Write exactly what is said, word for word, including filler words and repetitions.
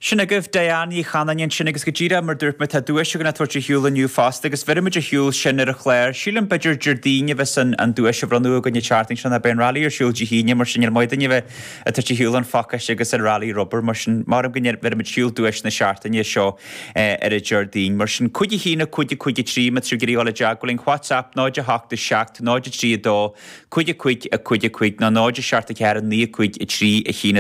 Sin agaibh Diane Ní Chanainn ansin agus go díreach mar dúirt mé tá duais againn á tabhairt ar shiúl inniu fosta agus bheirfimid ar shiúl sin ar an chlár. Sílim b'fhéidir Déardaoin a bheas an an duais á bhronnadh againn an tseachtain seo ná beidh an rally ar siúl Dé hAoine mar sin níl maith duine bheith ag tabhairt ar shiúl an phacáiste agus an rally rubair mar sin maram go bheirfimid ar siúl duais na seachtaine seo eh, ar an Déardaoin mar sin cúig a haon a cúig a cúig a trí má tá sibh ag iarraidh dul i dteagmháil linn WhatsApp náid a hocht a seacht náid a trí a dó cúig a cúig a cúig a cúig nó náid a seacht a ceathair naoi a cúig a trí a haon